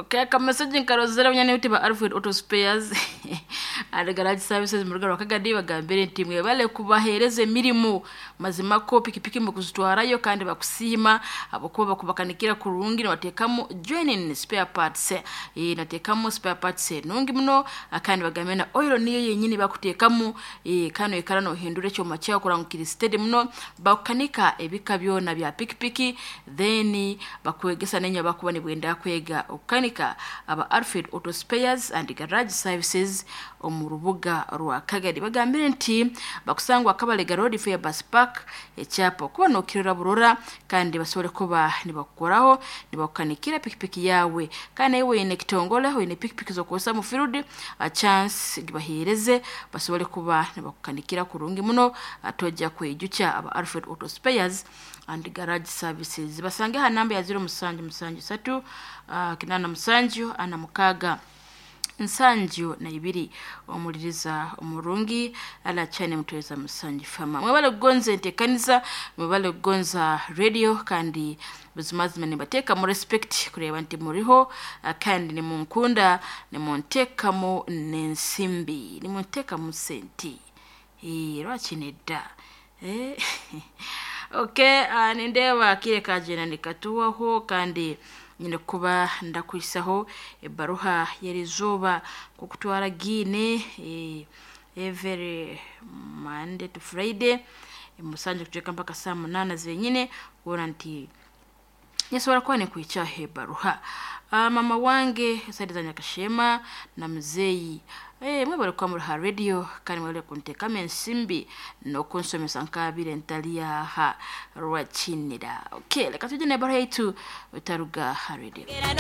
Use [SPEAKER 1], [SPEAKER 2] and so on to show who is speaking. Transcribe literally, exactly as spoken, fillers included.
[SPEAKER 1] Okay, akameseji nkarozera bunyane buti ba Alfred Auto Spares and Garage Services mu rugo rwa Kagadi bagambire nti mwebale kubahereza emirimu mazima ko pikipiki mukuzitwarayo kandi bakusiima abakuba bakubakanikira kurungi nibateekamu joining spare parts, eh nateekamu spare parts nungi muno, kandi bagambire na oil niyo yenyini bakuteekamu, eh kano ikara nohindura ekyoma kyawe kuranga kiri steady muno. Bakukanika ebika byona bya pikipiki, then bakwegesa nenya bakuba nibwenda kwega okukanika. Aba Alfred Auto Spares and Garage Services omu rubuga rwa Kagadi bagambire nti bakusangwa Kabalega Road, Fair Bus Park, ekyapa kuba nokirora burora, kandi basobole kuba nibakukoraho nibakukanikira pikipiki yawe. Kandi nawe wine ekitongole, wine pikipiki zokukozesa mu field, a chance gibahereze basobole kuba nibakukanikira kurungi muno, atojja kwijukya. Aba Alfred Auto Spares and Garage Services basange ha namba ya zero musanju musanju satu uh, kinana musanju ana mukaaga nsanju na ibiri. Omuliriza omurungi alakyane mutweza musanju fama, mwebale kugonza enteekaniza, mwebale kugonza radio, kandi buzimazima nibateeka mu respect kureba nti muriho, ah, kandi nimunkunda, nimunteekamu n'ensimbi, nimunteekamu senti. Eh, lwaki nedda? Eh, okay, uh, nindeeba kire kagenda nikatuwaho, kandi nyine kuba ndakwisaho ebaruha y'erizooba kukutwara giine, eh, every Monday to Friday musanju kucweka mpaka saa munana zenyine, kuona nti nyasobora kuba nikwicaho ebaruha. uh, mama wange side za Nyakashema na muzeeyi, eh, mwebale kuba muri ha radio, kandi mwebale kunteekamu ensimbi n'okunsomesa nkabire ntali aha rwakinira. Okay, reka tujye n'ebaruha yaitu etaruga ha radio.